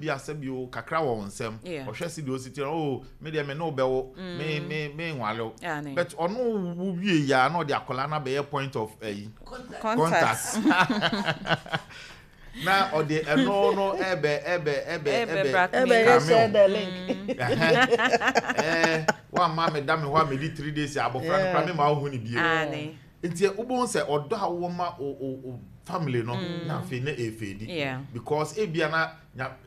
Bi asɛ bi o kakra wɔ wo nsam, ɔhwɛ si deɛ osi ti o, me deɛ me ne wo bɛwo, me nwale wo, but ɔno wo wie ya na ɔde akwadaa no abɛyɛ point of ɛyi contact na ɔde ɛno no ɛbɛ ɛbɛ ɛbɛ ɛbɛ ɛbɛ share the link. Ɛɛ wamma me da me hɔ a medi 3 days, abɔfra no kora me ma wohu ne bie. Nti wobɛhu sɛ ɔdɔ a wowɔ ma o family no na afei na ɛfɛdi because ebia na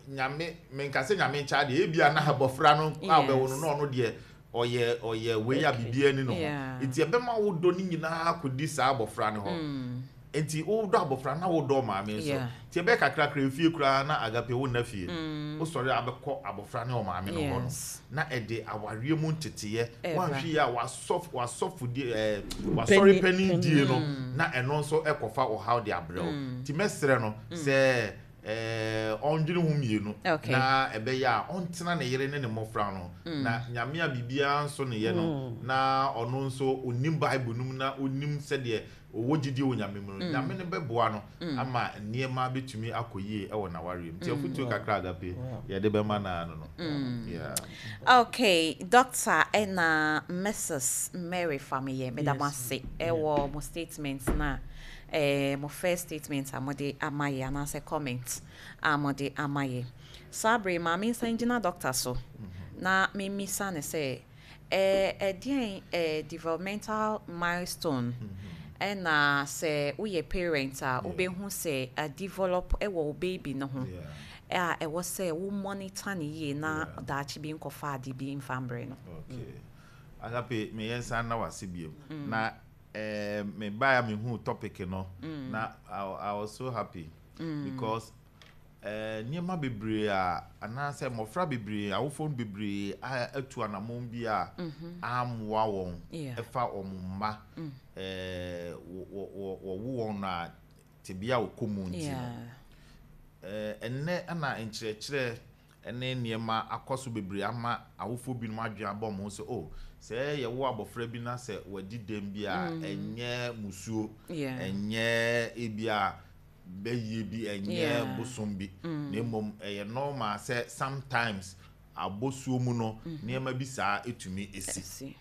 Nyame, menka sɛ Nyame nkyɛ adeɛ, ebia na abɔfra no a wobɛwo no na ɔno deɛ ɔyɛ wei a biribiara ni no ho, nti ɛbɛma wo dɔ no nyinaa kɔdi saa abɔfra no hɔ. Nti wodɔ abɔfra na wodɔ maame nso, nti ɛbɛyɛ kakrakra efie koraa na agape wo nna fie, wosɔre a wobɛkɔ abɔfra ne ɔmaame no hɔ no na ɛde awareɛ mu nteteyɛ. Woanhwɛ yie a wasɔfodie, wasɔre panin die no na ɛno nso ɛkɔfa ɔhaw de abrɛ wo. Nti mɛsrɛ no sɛ ɔndwene ho mmienu na ɛbɛyɛ a ɔntena ne yere ne ne mmɔfra no na Nyame a biribiara nso ne yɛ no na ɔno nso onim Bible no mu na onim sɛdeɛ ɔwɔ gyidie wɔ Nyame mu no, Nyame no bɛboa no ama nneɛma bɛtumi akɔ yie ɛwɔ n'awareɛ mu. Nti afotuo kakra agape yɛde bɛma naa no. Yeah. Okay, Doctor ɛna Mrs Mary Fameye, meda mo ase ɛwɔ mo statement na mo first statement a mode ama yɛ anaasɛ comment a mode ama yɛ. Saa bere maame nsan gyina doctor so na memisa ne sɛ ɛdeɛn developmental milestone ɛna sɛ woyɛ parent a wobɛhu sɛ a develop ɛwɔ wo baby no ho a ɛwɔ sɛ wo monitor ne yie na daakye bi nkɔfa ade bi mfa mbrɛ no? Okay. Agape, me yɛn nsa na wase bio. Na me baa me hu topic no na I was so happy because nneɛma bebree a anaasɛ mmɔfra bebree, awofoɔ bebree a atu anammɔn bi a ammoa wɔn ɛfa wɔn mma wɔwo wɔn no a tebea a wɔkɔ mu nti no, ɛnnɛ ɛna nkyerɛkyerɛ ne nneɛma akɔ so bebree ama awofoɔ binom adwene abɔ wɔn ho sɛ, oh, sɛ yɛwo abɔfra bi na sɛ wadi dɛm bi a, ɛnyɛ musuo, ɛnyɛ ebi a bɛyie bi, ɛnyɛ bosom bi, na mmom ɛyɛ normal sɛ sometimes abosuo mu no nneɛma bi saa etumi esi.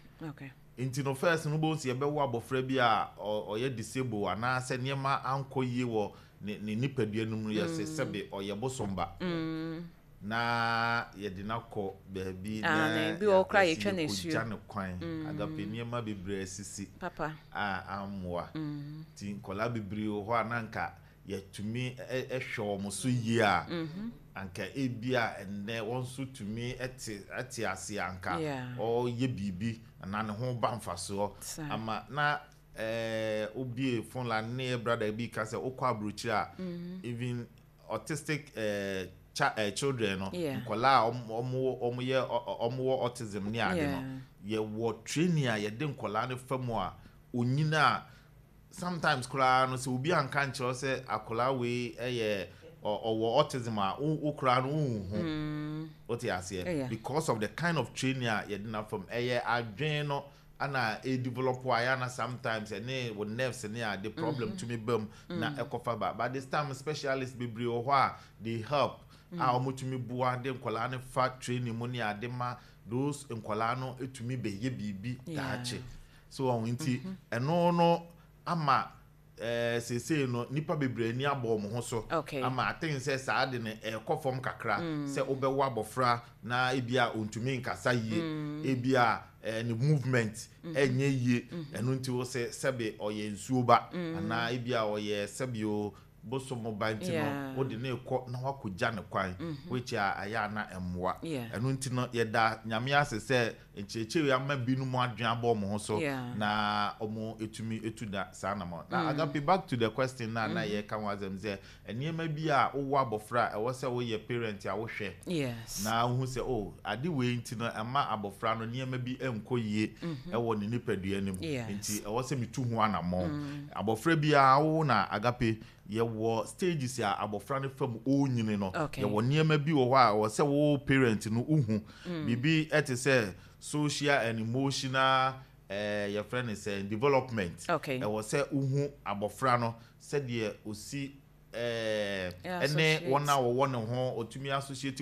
Nti no first no, bɔn si yɛbɛwo abɔfra bi a ɔyɛ disable anaasɛ nneɛma ankɔ yie wɔ ne nipadua no mu no, yɛsɛ sɛbe ɔyɛ bosom ba na yɛde no akɔ baabi na bi wɔ koraa yɛtwa no asuo. Yɛkɔgya no kwan. Agape, nneɛma bebree asisi a ammoa. Nti nkɔlaa bebree wɔ hɔ a na nka yɛtumi ɛhwɛ wɔn so yie a, anka ebi a ɛnnɛ wɔn nso tumi ɛte ase, anka ɔyɛ biribi anaa ne ho ba mfasoɔ ama na obie phone line ne yɛ brother bi ka sɛ wokɔ aburokyire a, even autistic children no, nkɔlaa a ɔmo yɛ ɔmo wɔ autism ne ade no, yɛwɔ training a yɛde nkɔlaa no fa mu a onyina a sometimes koraa no, sɛ obi anka nkyerɛ sɛ akɔlaa wei ɛyɛ ɔwɔ autism a, wo koraa no wonhu. Wote aseɛ? Because of the kind of training a yɛde na fam, ɛyɛ adwene no ana ɛdevelop a yɛ ana sometimes ɛne wo nerves ne ade problem tumi ba mu na ɛkɔfa ba. But this time specialist bebree wɔ hɔ a they help a wɔtumi boa de nkɔlaa no fa training mu ne ade ma those nkɔlaa no tumi bɛyɛ biribi daakye so wɔn. Nti ɛno no ama seesei no nipa bebree ani abɔ wɔn ho so ama aten sɛ saa de no ɛkɔ fam kakra sɛ wobɛwɔ abɔfra na ebi a ontumi nkasa yie, ebi a ne movement ɛnyɛ yie, ɛno nti wo sɛ sɛbe ɔyɛ nsuo ba anaa ebi a ɔyɛ sɛbe o bosom ba nti no wode ne kɔ na wakɔgya ne kwan, which a ɛyɛ ana mmoa. Ɛno nti no yɛda Nyame ase sɛ nkyerɛkyerɛ yi ama binom adwene abɔ wɔn ho so na wɔn etumi etu da saa nam. Na agape, back to the question na yɛka ho asɛm sɛ nneɛma bi a wowɔ abɔfra a ɛwɔ sɛ woyɛ parent a wohwɛ na wohu sɛ, oh, ade wei nti no ɛma abɔfra no nneɛma bi nkɔ yie ɛwɔ ne nipadua no mu, nti ɛwɔ sɛ metu ho anammɔn. Abɔfra biara wo na agape, yɛwɔ stages a abɔfra no fam ɔrenyini no, yɛwɔ nneɛma bi wɔ hɔ a ɛwɔ sɛ wo parent no wohu biribi ɛte sɛ social and emotional yɛfrɛ no sɛ development. Ɛwɔ sɛ wohu abɔfra no sɛdeɛ osi. Ɛne wɔn a wɔwɔ ne ho, ɔtumi associate.